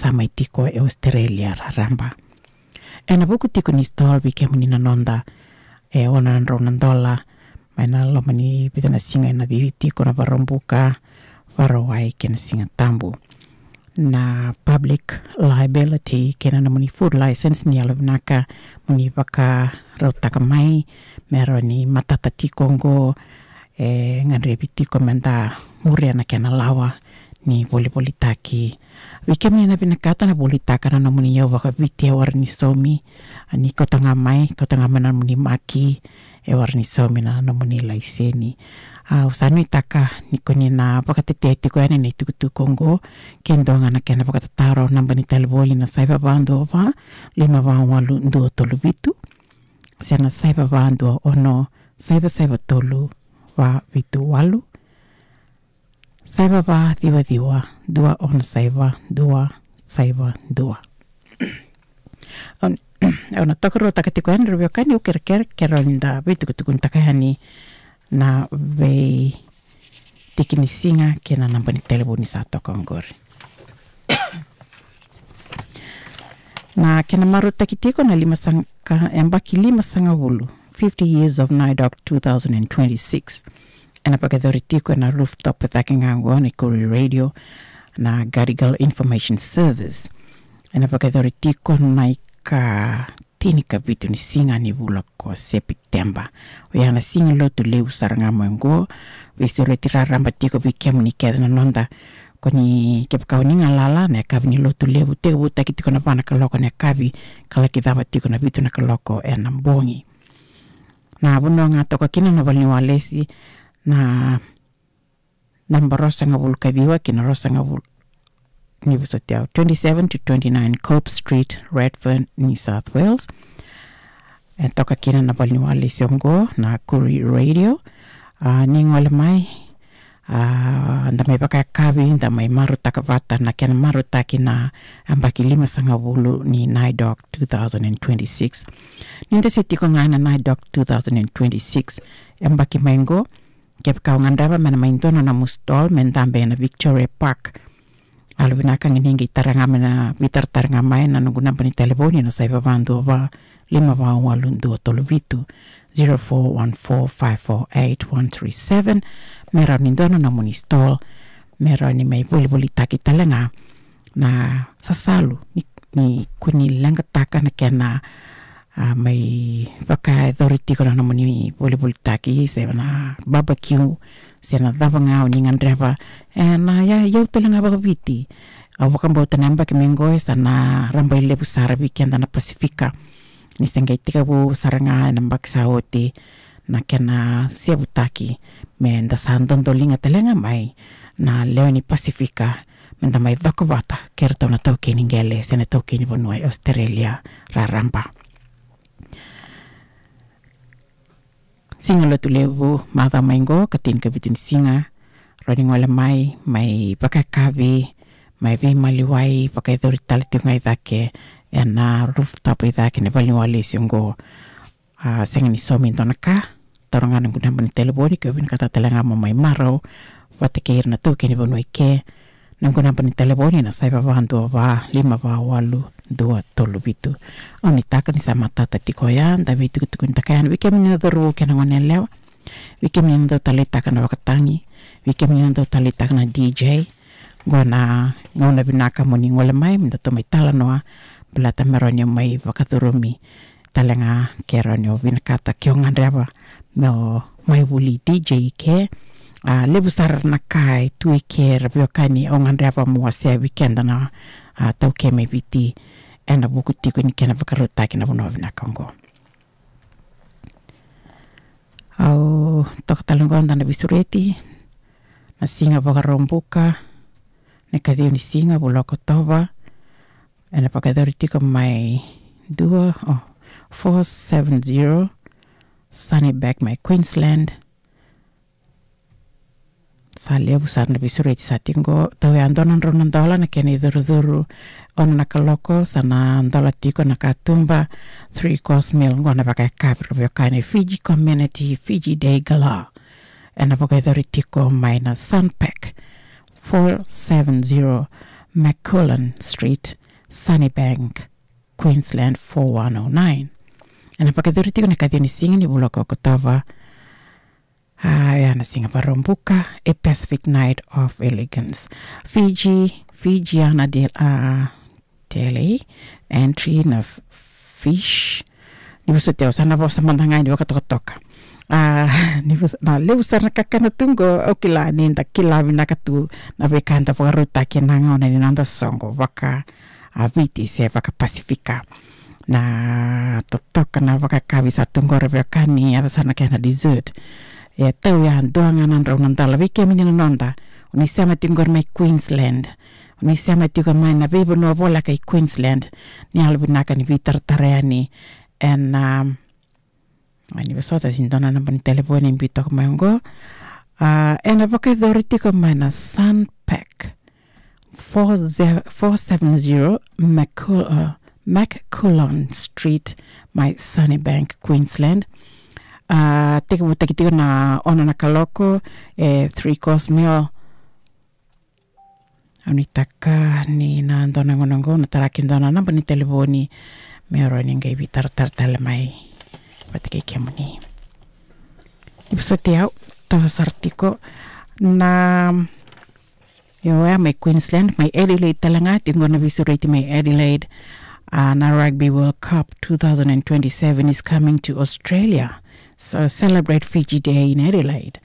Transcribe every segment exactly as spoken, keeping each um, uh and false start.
vakatamai tiko e Australia raraba. Ena vuku tiko ni stall vei kemuni na noda, e ono na drau na dola, mai na loma ni vica na siga ena cici tiko na Vakaraubuka, Vakarauwai kei na Sigatabu. Na public liability kei na nomuni food license ni yalovinaka moni vakarautaka mai, me rawa ni matata tiko oqo, e gadrevi tiko meda muria na kena lawa ni volivolitaki. Vei kemuni na vinakata na volitaka na nomuni iyau vakaviti e wara ni saumi, a, ni kauta ga mai, kauta ga mai na nomuni maki e wara ni saumi na nomuni laiseni. A, au sa nuitaka ni koni na vakatetea tiko yani na itukutuku oqo, ke dua ga na kena vakatataro, naba ni talevoni na saiva va dua va, lima va walu dua tolu vitu, se na saiva va dua ono, saiva saiva tolu, va vitu walu, saiva va ciwa ciwa, dua ono saiva, dua saiva dua. Au, au na tokaruataka tiko yani ra veiwekani, au kerekere, ke rawa ni da veitukutukunitaka yani na veitiki ni siga kei na naba ni talevoni sa toka oqori. Na kena marautaki tiko na lima saga, yabaki lima sagavulu, fifty years of NAIDOC two thousand and twenty-six. Ena vakayacori tiko ena rooftop cake ga oqo ni Koori Radio, na Gadigal Information Service. Ena vakayacori tiko na ika tinikavitu ni siga ni vula ko Sepiteba. Oya na siga lotu levu sara ga mai oqo. Veisureti raraba tiko vei kemuni kece na noda. Koni kevaka oni galala, na yakavi ni lotu levu tekivutaki tiko na va na kaloko na yakavi, ka laki cava tiko na vitu na kaloko ena bogi. Na vanua ga toka kina na valeniwalesi, na naba ruasagavulu ka ciwa kei na ruasagavulu, ni vosoti au, twenty-seven to twenty-nine Cope Street, Redfern, New South Wales. E toka kina na valeniwalesi oqo na Koori Radio. A, ni gole mai, a, da mai vakayakavi, da mai marautaka vata na kena marautaki na yabaki lima sagavulu ni NAIDOC two thousand and twenty-six. Ni da se tiko ga ena NAIDOC two thousand and twenty-six, yabaki mai oqo, kevaka o gadreva me na mai dua na nomu stall me dabe ena Victoria Park, yalovinaka ga ni qai tara ga mai na, veitaratara ga mai na noqu naba ni talevoni na saiva va dua va, lima va walu dua tolu vitu, zero four one four five four eight one three seven. Me rawa ni dua na nomuni stall, me rawa ni mai volivolitaki tale ga na sasalu ni, ni koni leqataka na kena, a, mai vakayacori tiko na nomuni volivolitaki, se na barbecue, se na cava ga oni gadreva. E, na ya, iyau tale ga vakaviti. Au vakabauta na yabaki mai oqo e sa na rabailevu sara vei keda na Pasifika. Ni se qai tekivu sara ga ena yabaki sa oti na kena sevutaki, me da sa dodoliga tale ga mai na lewe ni Pasifika, me da mai cokovata kei ratou na taukei ni qele se na taukei ni vanua e Australia raraba. Siga lotu levu macawa mai oqo, ka tinikavitu ni siga, rawa ni gole mai, mai vakayakavi, mai veimaliwai, vakayacori tale tiko ga i cake ena rooftop i cake ni valeniwalesi oqo. A, sega ni saumi e dua na ka, taura ga noqu naba ni talevoni, ke o vinakata tale ga mo mai marau vata kei ira na taukei ni vanua i ke. Noqu naba ni talevoni na saiva va dua va, lima va walu dua tolu vitu. Au nuitaka ni sa matata tiko oya, da veitukutukunitaka yani. Vei kemuni na cauravou kei na goneyalewa, vei kemuni na dau taleitaka na vakatagi, vei kemuni na dau taleitaka na D J, qo na gauna vinaka moni gole mai, me datou mai talanoa, baleta me rawa ni o mai vakacurumi tale ga ke rawa ni o vinakata ke o gadreva me o mai vuli D J i ke. A, levu sara na ka e tu i ke ra veiwekani, o gadreva mo wasea vei keda na, a, taukei mai Viti ena vuku tiko ni kena vakarautaki na vanua vinaka oqo. Au toka tale oqo, da na veisureti na siga Vakaraubuka, na ikaciwa ni siga vula o Okotova. Ena vakayacori tiko mai dua, o, four seven zero Sunnybank mai Queensland. Sa levu sara na veisureti sa tiko qo. Tau ya dua na drau na dola na kena icurucuru. Ono na kaloko sa na dola tiko na katuba, three course meal, qo na vakayakavi ra veiwekani. Fiji Community, Fiji Day Gala. Ena vakayacori tiko mai na Sunpack, four seven zero McCullen Street, Sunnybank, Queensland four one oh nine. Ena vakayacori tiko na ikaciwa ni siga ni vula ko Okotova. A, ya na siga Vakaraubuka, a Pacific Night of Elegance. Fiji, Fijiana de, a, Deli, entry na f-, fish. Ni vosoti au, sa na vosa mada ga ni vakatokatoka. A, ni vos-, na levu sara na kakana tu qo, au kila ni da kila vinaka tu na veika eda vakarautaki ena gauna ni noda soqo vaka, a, Viti se vaka Pasifika. Na totoka na vakayakavi sa tu qo, ra veiwekani, yaco sara na kena dessert. E tau ya, dua ga na drau na dala. Vei kemuni na noda, o ni sema tiko qori mai Queensland, o ni sema tiko mai na veivanua voleka i Queensland, ni yalovinaka ni veitaratara yani. Ena, um, ni vosota, se dua na naba ni telefoni e biu toka mai qo. A, ena vakayacori tiko mai na Sunpack, four ze-, four seven zero McCul-, uh, McCullon Street, mai Sunnybank, Queensland. A, tekivutaki tiko na ono na kaloko, e three course meal. Au nuitaka ni na dua na gauna qo na taraki dua na naba ni telefoni me rawa ni qai veitaratara tale mai vata kei kemuni. Ni vosoti au, tau sara tiko na, io, ya mai Queensland, mai Adelaide tale ga, tiko qo na veisureti mai Adelaide. A, na Rugby World Cup two thousand and twenty-seven is coming to Australia. So celebrate Fiji Day in Adelaide.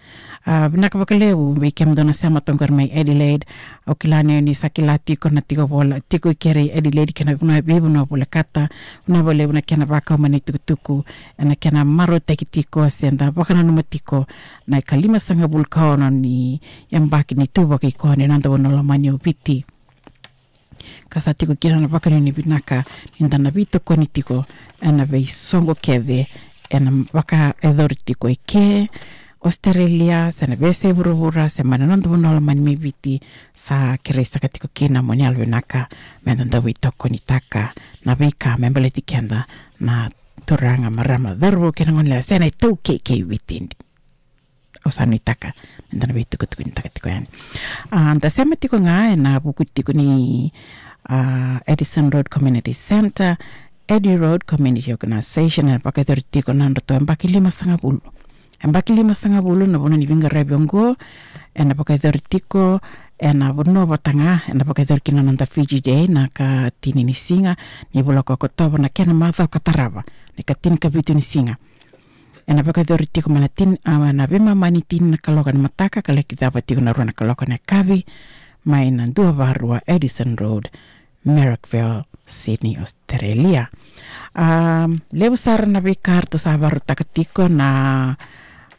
A, vinaka vakalevu vei kemudou na sema toka qori mai Adelaide. Au kila ni, ni sa kila tiko na tiko vola, tiko i keri Adelaide kei na vanua, veivanua volekata. Vinaka vakalevu na kena vakau mai na itukutuku, ena kena marautaki tiko se da vakananuma tiko na ikalimasagavulu ka ono ni yabaki ni tu vakaikoya ni noda vanua lomani o Viti. Ka sa tiko kina na vakanuinui vinaka ni da na veitokoni tiko ena veisoqo kece ena vakayacori tiko eke Australia, se na veiyasai vuravura, se mai na noda vanua lomani mai Viti. Sa kerei saka tiko kina mo ni yalovinaka me da dau veitokonitaka na veika me baleti keda na turaga, marama, cauravou kei na goneyalewa, se na iTaukei kei Viti. Au sa nuitaka me da na veitukutukunitaka tiko yani. A, da sema tiko ga ena vuku tiko ni, a, Addison Road Community Centre, Addi Road Community Organisation, ena vakayacori tiko na nodratou yabaki limasagavulu. Yabaki limasagavulu na vanua ni veiqaravi oqo, ena vakayacori tiko ena vanua vata ga, ena vakayacori kina na noda Fiji Day, na ikatini ni siga ni vula ko Okotova, na kena macawa ka tarava, na ikatinikavitu ni siga. Ena vakayacori tiko mai na tini, a, na veimama ni tini na kaloko ena mataka ka laki cava tiko na rua na kaloko ena yakavi, mai na dua va rua Addison Road, Marrickville, Sydney, Australia. A, levu sara na veika eratou sa vakarautaka tiko na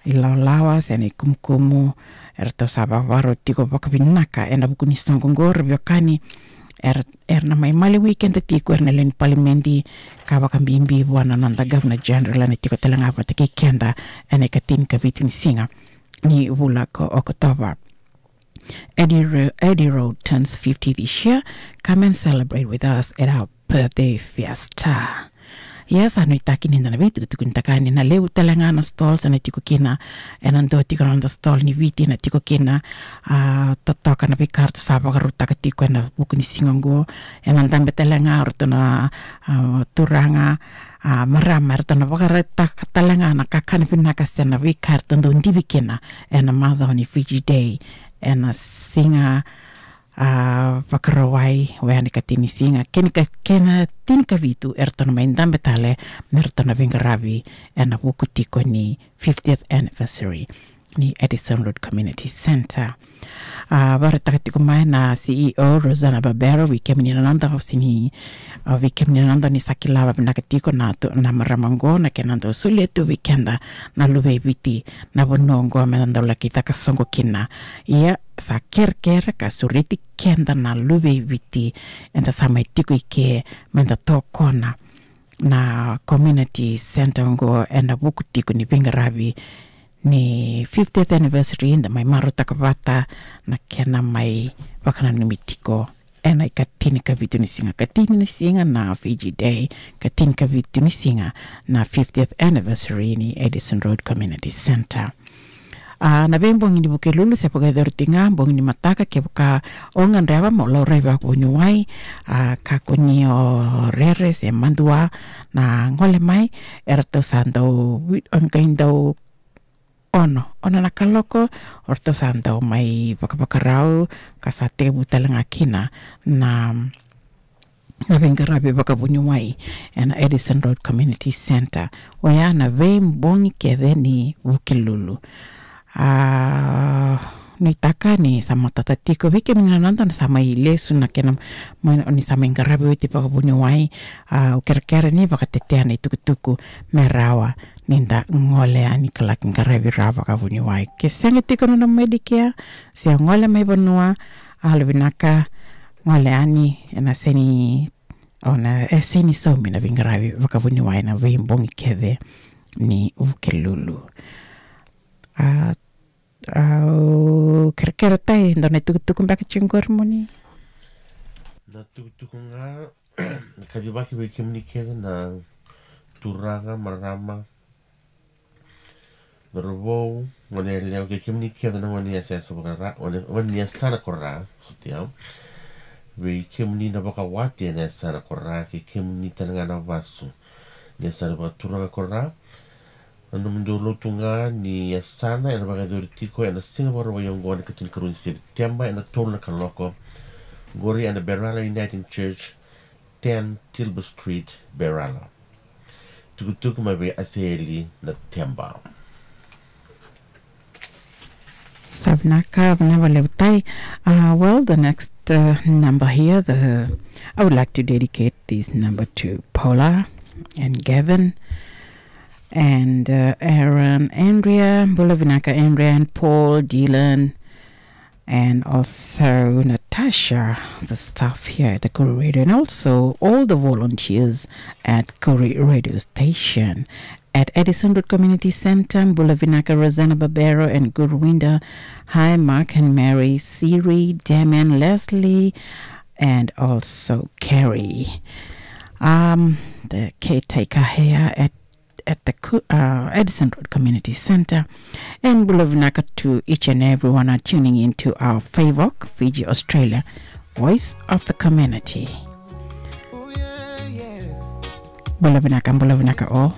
ilawalawa se na ikumukumu, eratou sa vakavakarau tiko vakavinaka ena vuku ni soqo qo, ra veiwekani. Era, era na mai maliwai keda tiko, era na lewe ni palimedi, ka vakabibi vua na noda Governor General, ena tiko tale ga vata kei keda ena ikatinikavitu ni siga ni vula ko Okotova. Addi Ro-, Addi Road turns fifty this year. Come and celebrate with us at our birthday fiesta. Ia, sa nuitaki ni da na veitukutukunitaka yani, na levu tale ga na stalls ena tiko kina, ena dua tiko na noda stall ni Viti ena tiko kina. A, totoka na veika eratou sa vakarautaka tiko ena vuku ni siga oqo. Ena dabe tale ga o ratou na, a, turaga, a, marama, eratou na vakarautaka tale ga na kakana vinaka se na veika eratou dau divi kina ena macawa ni Fiji Day, ena siga, a, Vakarauwai, oya na ikatini ni siga, kei na ka-, kei na tinikavitu eratou na mai dabe tale me ratou na veiqaravi ena vuku tiko ni fiftieth anniversary ni Addison Road Community Centre. A, vakaraitaka tiko mai na C E O, Rosanna Barbero, vei kemuni na noda, au sega ni, a, vei kemuni na noda ni sa kila vakavinaka tiko na tu-, na marama oqo, na kena dau solia tu vei keda na luve i Viti na vanua oqo me da dau laki caka soqo kina. Ia, sa kerekere ka sureti keda na luve i Viti eda sa mai tiko i ke me da tokona na community centre oqo ena vuku tiko ni veiqaravi ni fiftieth anniversary, da mai marautaka vata na kena mai vakananumi tiko ena ikatinikavitu ni siga, ikatini ni siga na Fiji Day, ikatinikavitu ni siga na fiftieth anniversary ni Addison Road Community Centre. A, na veibogi ni Vukelulu se vakayacori tiko ga bogi ni mataka, kevaka o gadreva mo laurai vakavuniwai, a, kakua ni o rere se madua na gole mai, eratou sa dau, vi-, o qai dau ono, ono na kaloko, o ratou sa dau mai vakavakarau, ka sa tekivu tale ga kina na, na veiqaravi vakavuniwai ena Addison Road Community Centre. Oya na veibogi kece ni Vukelulu. A, nuitaka ni sa matata tiko vei kemuni na noda na sa mai lesu na kena, mai, ni sa mai qaravi oti vakavuniwai, a, au kerekere ni vakatetea na itukutuku me rawa ni da gole yani ka laki qaravi rawa vakavuniwai. Ke sega tiko na nomu Medicare, se gole mai vanua, a, yalovinaka gole yani, ena sega ni, o na, e sega ni saumi na veiqaravi vakavuniwai na veibogi kece ni Vukelulu. A, au kerekere, Tai, dua na itukutuku beka tiko qori mo ni. Na tukutuku ga, kacivaki vei kemuni kece na turaga, marama, cauravou, gone yalewa, kei kemuni kece na gone ni yasayasa vakara, gone, gone ni yasana ko Ra, sutia. Vei kemuni na vakawati ena yasana ko Ra, kei kemuni tale ga na vasu ni yasana vakaturaga ko Ra. Na nomudou lotu ga ni yasana ena vakayacori tiko ena Siga Vakarauwai oqo na ikatinikarua ni Sepiteba ena tolu na kaloko. Qori ena Berala Uniting Church, ten Tilbury Street, Berala. Tukutuku mai vei Asaeli Nateba. Sa vinaka, vinaka vakalevu, Tai. Uh, well, the next, uh, number here, the, I would like to dedicate this number to Paula and Gavin and, uh, Aaron, Andrea, bula vinaka, Andrea and Paul, Dylan, and also Natasha, the staff here at the Koori Radio, and also all the volunteers at Koori Radio Station. At Addison Road Community Centre, bula vinaka Rosanna Barbero and Gurwinda. Hi, Mark and Mary, Siri, Damien, Leslie, and also Carrie. Um, the caretaker here at, at the Ku-, uh, Addison Road Community Centre. And bula vinaka to each and everyone are tuning in to our FAVOC, Fiji Australia, Voice of the Community. Bula vinaka, bula vinaka all.